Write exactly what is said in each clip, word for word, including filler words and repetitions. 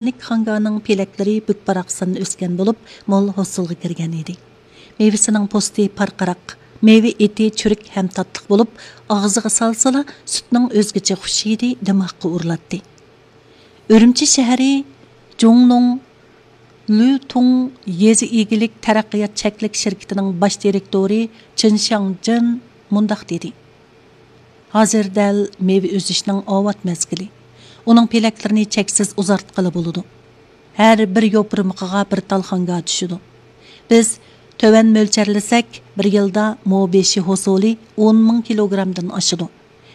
خانگانىڭ پېلەكلىرى بۈك-باراقسان ئۆسكەن بولۇپ، مول ھوسۇلغا كىرگەن ئىدى. مېۋىسىنىڭ پوستى پارقىراق، مېۋە ئېتى چۈرۈك ھەم تاتلىق بولۇپ، ئاغزىغا سالسىلا، سۈتنىڭ ئۆزگىچە خۇش ھىدى دىماغقا ئۇرۇلاتتى. ئۈرۈمچى شەھىرى جۇڭنۇڭ لۈتۇڭ يېزا ئىگىلىك تەرەققىيات چەكلىك شىركىتىنىڭ باش دىرېكتورى چېن شياڭجېن مۇنداق دېدى: «ھازىر دەل مېۋە ئۈزۈشنىڭ ئاۋات مەزگىلى. ئۇنىڭ پېلەكلىرىنى چەكسىز ئۇزارتقىلى بولىدۇ. ھەر بىر يوپۇرمىقىغا بىر تال خانگا چۈشىدۇ. بىز تۆۋەن مۆلچەرلىسەك، بىر يىلدا مو بېشى ھوسۇلى ئون مىڭ كىلوگرامدىن ئاشىدۇ.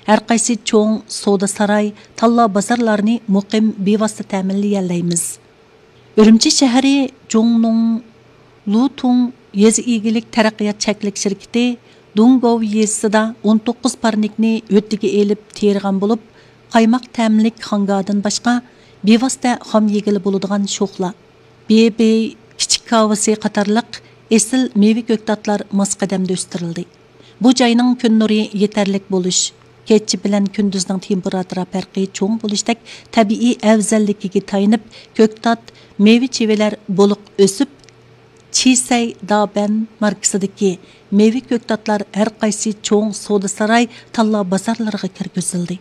ھەر قايسى چوڭ سودا ساراي، تاللا بازارلارنى مۇقىم بىۋاسىتە تەمىنلىيەلەيمىز.» ئۈرۈمچى شەھىرى جۇڭنۇڭ لۇتۇڭ يېزا ئىگىلىك تەرەققىيات چەكلىك شىركىتى دۇڭگوۋ يېزىسىدا ئون توققۇز پارنىكنى ھۆددىگە ئېلىپ تېرىغان بولۇپ، قايماق تەملىك خانگادىن باشقا بىۋاسىتە خام يېگىلى بولىدىغان شوخلا، بېبېي كىچىك كاۋىسى قاتارلىق ئېسىل مېۋە كۆكتاتلار ماس قەدەمدە ئۆستۈرۈلدى. بۇ جاينىڭ كۈن نۇرى يېتەرلىك بولۇش، كېچە بىلەن كۈندۈزنىڭ تېمپېراتۇرا پەرقى چوڭ بولۇشتەك تەبىئىي ئەۋزەللىكىگە تايىنىپ، كۆكتات، مېۋە چىۋىلەر بولۇق ئۆسۈپ، چىسەي دابەن ماركىسىدىكى مېۋە كۆكتاتلار ھەر قايسى چوڭ سودا ساراي، تاللا بازارلىرىغا كىرگۈزۈلدى.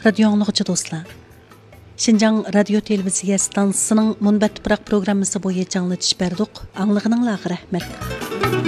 رادىيو ئاڭلىغۇچى دوستلار، شىنجاڭ رادىيو تېلېۋىزىيە ئىستانسىسىنىڭ مۇنبەت تۇپراق پروگراممىسى بويىچە ئاڭلىتىش بەردۇق. ئاڭلىغىنىڭلارغا رەھمەت.